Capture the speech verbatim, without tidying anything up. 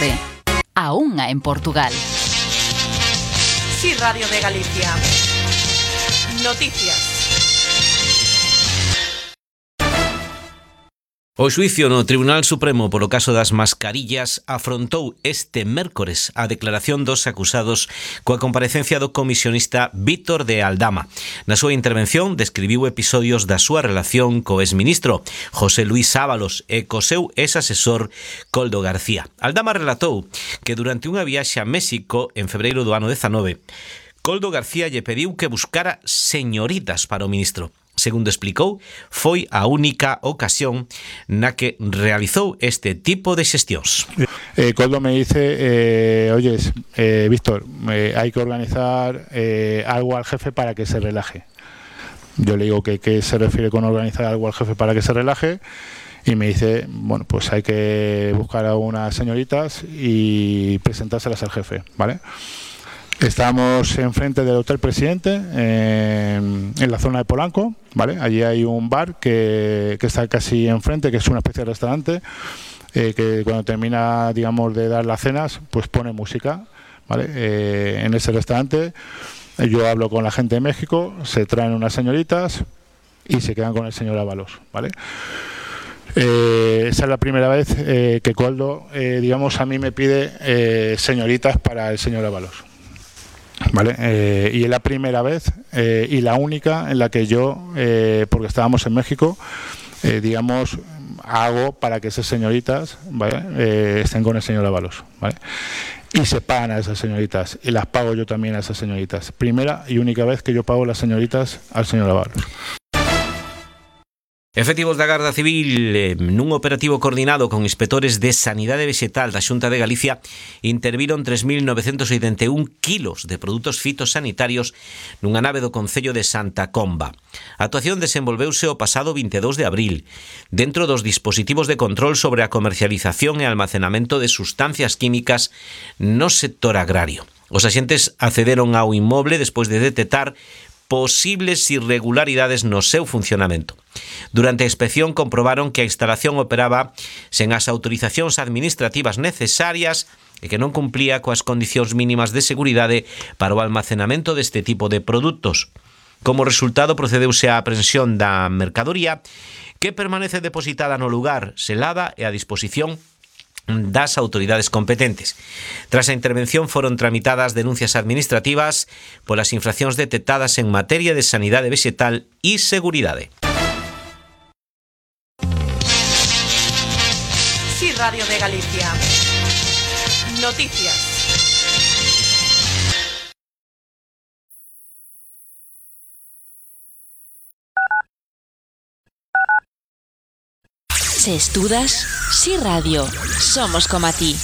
tarde. A unha en Portugal. Sí, Radio de Galicia. Noticias. O xuicio no Tribunal Supremo polo caso das mascarillas afrontou este mércores a declaración dos acusados coa comparecencia do comisionista Vítor de Aldama. Na súa intervención describiu episodios da súa relación co exministro José Luís Ábalos e co seu ex-asesor Koldo García. Aldama relatou que durante unha viaxe a México en febreiro do ano dezanove, Koldo García lle pediu que buscara señoritas para o ministro. Segundo explicou, foi a única ocasión na que realizou este tipo de xestións. Eh, Koldo me dice, eh, oyes, eh, Víctor, eh, hay que organizar eh, algo al jefe para que se relaje. Yo le digo que qué se refiere con organizar algo al jefe para que se relaje, y me dice, bueno, pues hay que buscar a unas señoritas y presentárselas al jefe, ¿vale? Estamos enfrente del Hotel Presidente, eh, en la zona de Polanco, ¿vale? Allí hay un bar que, que está casi enfrente, que es una especie de restaurante, eh, que cuando termina, digamos, de dar las cenas, pues pone música, ¿vale? Eh, en ese restaurante yo hablo con la gente de México, se traen unas señoritas y se quedan con el señor Ábalos, ¿vale? Eh, esa es la primera vez eh, que Koldo, eh, digamos, a mí me pide eh, señoritas para el señor Ábalos. Vale, eh, y es la primera vez eh, y la única en la que yo, eh, porque estábamos en México, eh, digamos, hago para que esas señoritas, ¿vale? eh, estén con el señor Ábalos, ¿vale? Y se pagan a esas señoritas, y las pago yo también a esas señoritas. Primera y única vez que yo pago las señoritas al señor Ábalos. Efectivos da Garda Civil, eh, nun operativo coordinado con inspectores de Sanidade Vegetal da Xunta de Galicia, interviron tres mil novecentos oitenta e un kilos de produtos fitosanitarios nunha nave do concello de Santa Comba. A actuación desenvolveuse o pasado vinte e dous de abril, dentro dos dispositivos de control sobre a comercialización e almacenamento de sustancias químicas no sector agrario. Os axentes accederon ao inmoble despois de detectar posibles irregularidades no seu funcionamento. Durante a inspección comprobaron que a instalación operaba sen as autorizacións administrativas necesarias e que non cumplía coas condicións mínimas de seguridade para o almacenamento deste tipo de produtos. Como resultado, procedeuse á aprehensión da mercadoría, que permanece depositada no lugar, selada e a disposición das autoridades competentes. Tras a intervención foron tramitadas denuncias administrativas polas infraccións detectadas en materia de sanidade vegetal e seguridade. Sí, Radio de Galicia. Noticias. Se estudas, Sí Radio. Somos como a ti.